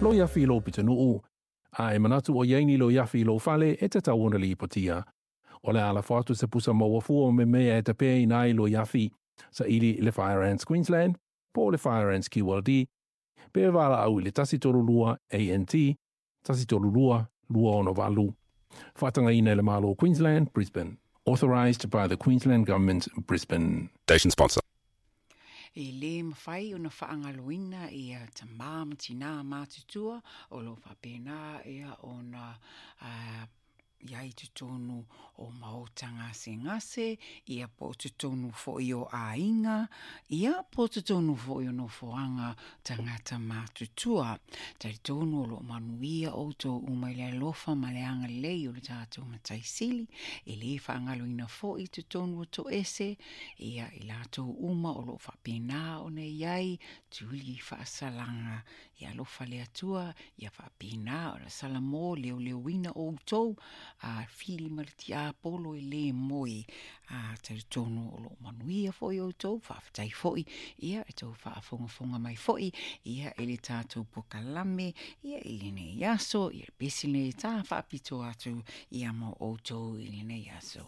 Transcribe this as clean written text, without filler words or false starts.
Loia afi i lou pitonuu, a e manatu o i ai ni loia afi i lou fale, e tatau ona lipotia. O le a lafo atu se pusa maua fua o mea e tapeina ai loia afi, saili i le Fire Ants Queensland po o le Fire Ants QLD, pe valaau i le 132 ANT 132 268. Faatagaina e le Malo o Queensland, Brisbane. Authorised by the Queensland Government, Brisbane. Station sponsor. E le mafai ona faagaloina ia tamā ma tinā matutua o lo o faapena ia ona i ai i totonu o maota gasegase, ia po o totonu foi o aiga, ia po o totonu foi o nofoaga tagata matutua. Talitonu o lo o manuia outou uma i le alofa ma le agalelei o le tatou Matai Sili, e le faagaloina foi i totonu o toese, ia i latou uma o lo o faapena ona i ai tuli faasalaga. Ia alofa le Atua, ia faapena ona salamo leoleoina outou, a fili ma le tiapolo e le moe, a talitonu o lo o manuia foi outou, faafetai foi, ia e tou faafogafoga mai foi, ia i le tatou pokalame, ia i lenei aso, ia le pesi lenei ta faapito atu, ia mo outou i lenei aso.